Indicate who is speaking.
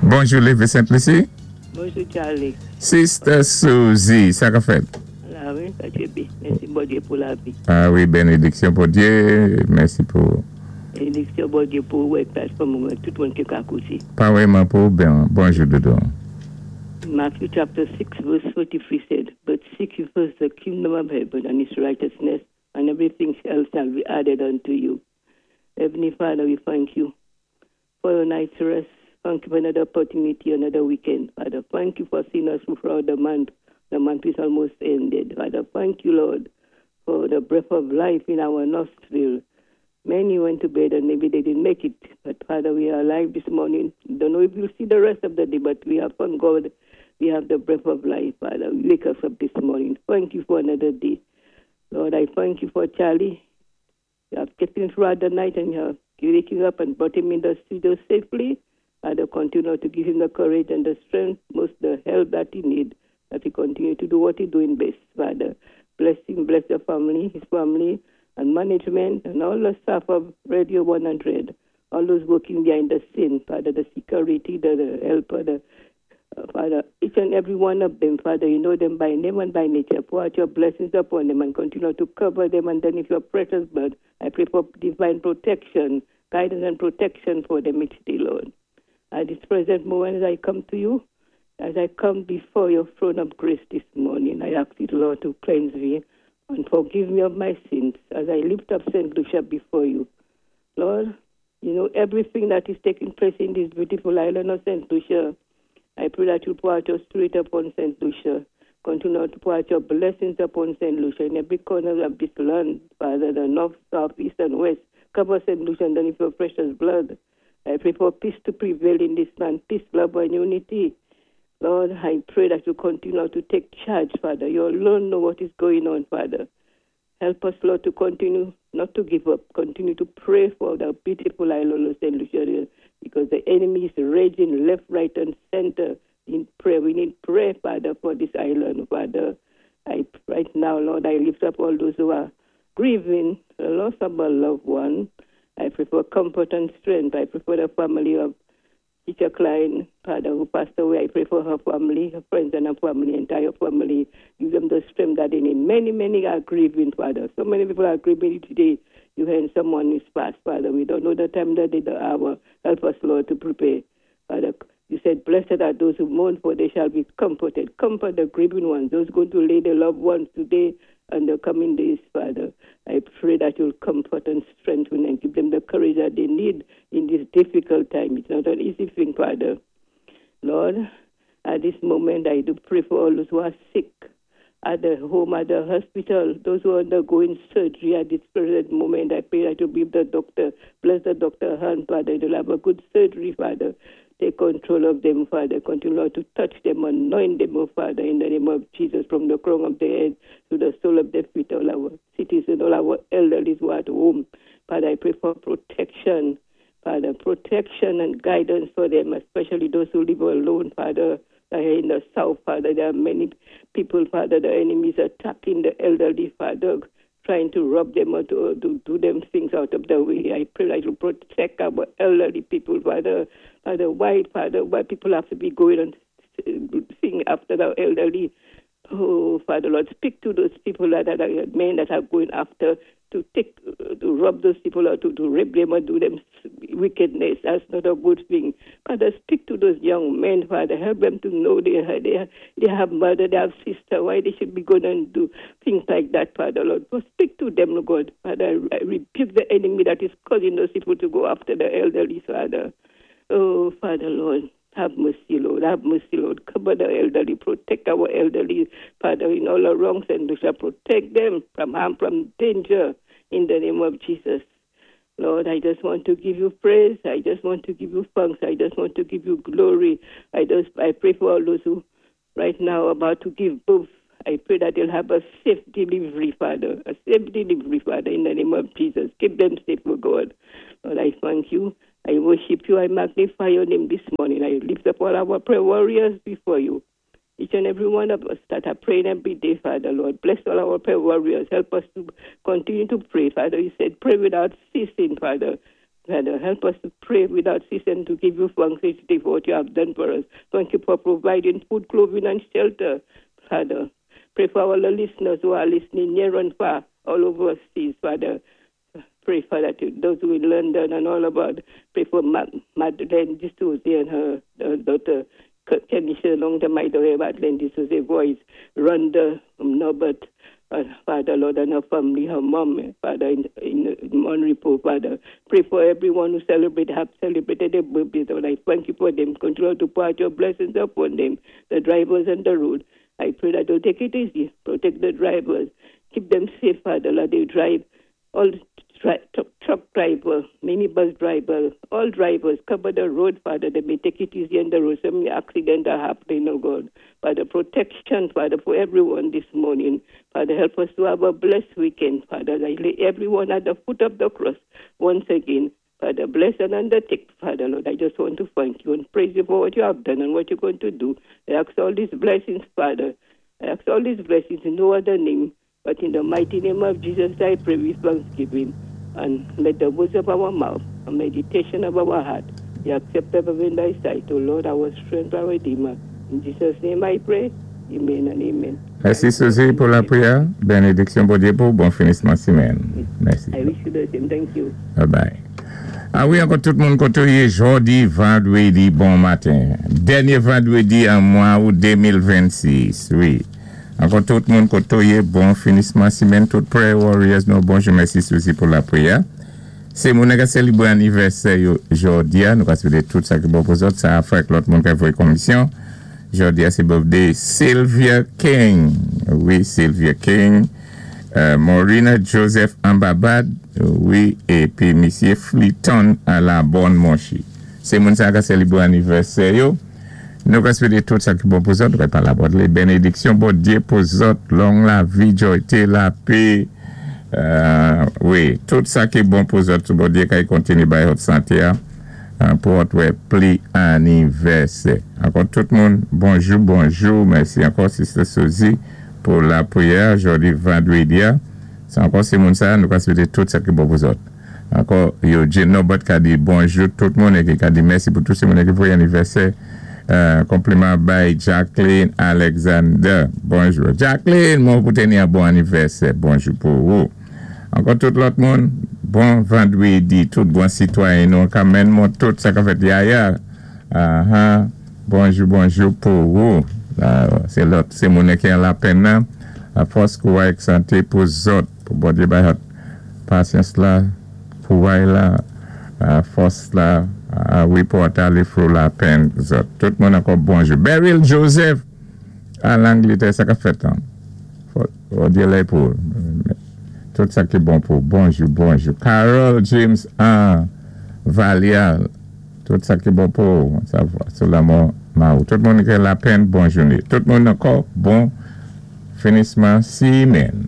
Speaker 1: Bonjou, Lévé Sent-Lisi.
Speaker 2: Bonjou, Charlie.
Speaker 1: Sister Suzy, sa k ap fèt?
Speaker 2: La wi, sa byen. Mèsi, Bondyé, pou lavi.
Speaker 1: A wi, bénédiksyon Bondyé. Mèsi pou.
Speaker 2: Bénédiksyon Bondyé pou wè platfòm tout moun ki ka kouté.
Speaker 1: Parèyman pou ben, bonjou, doudou.
Speaker 2: Matthew chapter 6, verse 43 said, "But seek ye first the kingdom of heaven and its righteousness, and everything else shall be added unto you." Heavenly Father, we thank you for your night's rest. Thank you for another opportunity, another weekend. Father, thank you for seeing us throughout the month. The month is almost ended. Father, thank you, Lord, for the breath of life in our nostril. Many went to bed and maybe they didn't make it. But Father, we are alive this morning. Don't know if we'll see the rest of the day, but we have thank God we have the breath of life, Father. Wake us up this morning. Thank you for another day. Lord, I thank you for Charlie. You have kept him throughout the night and you have waking up and brought him in the studio safely. Father, continue to give him the courage and the strength, most the help that he needs, that he continue to do what he's doing best, Father. Bless him, bless the family, his family, and management, and all the staff of Radio 100, all those working behind the scene, Father, the security, the helper, the Father, each and every one of them, Father, you know them by name and by nature. Pour out your blessings upon them and continue to cover them underneath your precious blood. I pray for divine protection, guidance and protection for them each day, Lord. At this present moment, as I come to you, as I come before your throne of grace this morning, I ask you, Lord, to cleanse me and forgive me of my sins as I lift up St. Lucia before you. Lord, you know everything that is taking place in this beautiful island of St. Lucia. I pray that you pour out your spirit upon St. Lucia. Continue to pour out your blessings upon St. Lucia in every corner of this land, Father, the north, south, east, and west. Cover St. Lucia underneath your precious blood. I pray for peace to prevail in this land, peace, love, and unity. Lord, I pray that you continue to take charge, Father. You alone know what is going on, Father. Help us, Lord, to continue not to give up, continue to pray for the beautiful island of St. Lucia, because the enemy is raging left, right, and center in prayer. We need prayer, Father, for this island, Father. Right now, Lord, I lift up all those who are grieving the loss of a loved one. I pray for comfort and strength. I pray for the family of Teacher Klein, Father, who passed away. I pray for her family, her friends and her family, entire family. Give them the strength that they need. Many, many are grieving, Father. So many people are grieving today. You hear someone is passed, Father. We don't know the time, the day, the hour. Help us, Lord, to prepare. Father, you said, "Blessed are those who mourn, for they shall be comforted." Comfort the grieving ones, those going to lay their loved ones today and the coming days, Father. I pray that you'll comfort and strengthen and give them the courage that they need in this difficult time. It's not an easy thing, Father. Lord, at this moment, I do pray for all those who are sick at the home, at the hospital, those who are undergoing surgery at this present moment. I pray that you be the doctor. Bless the doctor hand, Father. They'll have a good surgery, Father. Take control of them, Father. Continue, Lord, to touch them, anoint them, oh Father, in the name of Jesus, from the crown of their head to the sole of their feet, all our citizens, all our elderly who are at home. Father, I pray for protection, Father, protection and guidance for them, especially those who live alone, Father, that are in the south, Father. There are many people, Father, the enemies attacking the elderly, Father, trying to rob them or to do them things out of the way. I pray that you protect our elderly people, Father. Father, why people have to be going and thing after the elderly? Oh, Father, Lord, speak to those people that are men that are going after to take, to rob those people or to rape them or do them wickedness. That's not a good thing. Father, speak to those young men, Father. Help them to know they have mother, they have sister. Why they should be going and do things like that, Father, Lord. But speak to them, Lord God. Father, I rebuke the enemy that is causing those people to go after the elderly, Father. Oh, Father, Lord. Have mercy, Lord. Have mercy, Lord. Cover the elderly. Protect our elderly, Father, in all our wrongs, and we shall protect them from harm, from danger, in the name of Jesus. Lord, I just want to give you praise. I just want to give you thanks. I just want to give you glory. I pray for all those who right now are about to give birth. I pray that they'll have a safe delivery, Father. A safe delivery, Father, in the name of Jesus. Keep them safe, oh God. Lord, I thank you. I worship you. I magnify your name this morning. I lift up all our prayer warriors before you. Each and every one of us that are praying every day, Father, Lord. Bless all our prayer warriors. Help us to continue to pray, Father. You said pray without ceasing, Father. Father, help us to pray without ceasing, to give you thanks each day for what you have done for us. Thank you for providing food, clothing, and shelter, Father. Pray for all the listeners who are listening near and far, all overseas, Father. Pray, Father, to those who in London and all about. Pray for Madeleine D'Souza and her daughter, Kenisha, long time I don't hear Madeleine D'Souza voice. Rhonda Norbert, Father, Lord, and her family, her mom, Father, in Monrepo, Father. Pray for everyone who celebrate, have celebrated their birthdays. Lord, I thank you for them. Continue to pour out your blessings upon them, the drivers on the road. I pray that they'll take it easy, protect the drivers, keep them safe, Father, Lord, they drive. All truck driver, minibus driver, all drivers, cover the road, Father, they may take it easy on the road. So many accidents are happening, oh God. Father, protection, Father, for everyone this morning. Father, help us to have a blessed weekend, Father. I lay everyone at the foot of the cross once again. Father, bless and undertake, Father, Lord. I just want to thank you and praise you for what you have done and what you're going to do. I ask all these blessings, Father. I ask all these blessings in no other name, but in the mighty name of Jesus, I pray with thanksgiving. And let the words of our mouth and meditation of our heart be acceptable in thy sight, O Lord, our strength, our Redeemer. In Jesus' name I pray. Amen and amen.
Speaker 1: Mèsi, Suzy, pou lapriyè. Benediksyon Bondyé pou bon finisman simèn. Mèsi.
Speaker 2: I wish you the same. Thank you.
Speaker 1: Bye bye. A wi, ankò tout moun koté ou yé jòdi vandwédi bon maten. Dènyé vandwédi an mwa out 2026. Wi. Ankò tout moun koté ou yé bon finisman simèn, tout prayer warriors nou bonjou. Mèsi, Suzy, pou lapriyè. Sé moun ka sélébwé anivèsè yo jòdi a, nou ka swété tout sa ki bon pou zòt sa a fè lòt moun ka voyé komisyon. Jòdi a sé birthday Sylvia King. Wi, Sylvia King. Maurina Joseph Ambabad, wi, épi misyé Fleeton à la Bonne Monchi. Sé moun sa ka sélébwé anivèsè yo. Nou ka swété tout sa ki bon pou zòt, nou pa la bòt benediksyon Bondyé pou zòt, long lavi, jòyté, lapè. Wi, tout sa ki bon pou zòt, Bondyé ka kontinyé bay zòt santé a, pou zòt wè pli anivèsè. Ankò tout moun, bonjou, bonjou, mèsi ankò Sister Suzy pou lapriyè jòdi vandwédi. Sé ankò sé moun sa, nou ka swété tout sa ki bon pou zòt. Ankò, Eugene Norbert ka di bonjou tout moun é ki ka di mèsi pou tout sé moun ki voyé anivèsè. Konpliman bay Jacqueline Alexander. Bonjou. Jacqueline, mwen pou téni yon bon anivèsè. Bonjou pou ou. Ankò tout lòt moun, bon vandwédi, tout bon sitwayen nou, kanmenm moun tout sa ka fèt yaya. Uh-huh. Bonjou, bonjou pou ou. Sé lòt, sé moun ki an lapenn nan. Fòs kouway santé pou zòt, pou Bondyé bay pasyans la, kouway la, fòs la, wi, pou alé through lapenn zòt. Tout moun ankò bonjou. Beryl Joseph a Langlétè, sa ka fèt an. Bondyé la pou tout sa ki bon pou bonjou, bonjou. Carol James an Valial, tout sa ki bon pou sa sou lanmò Maou. Tout moun ki lapenn, bon jounen. Tout moun ankò bon finisman simèn.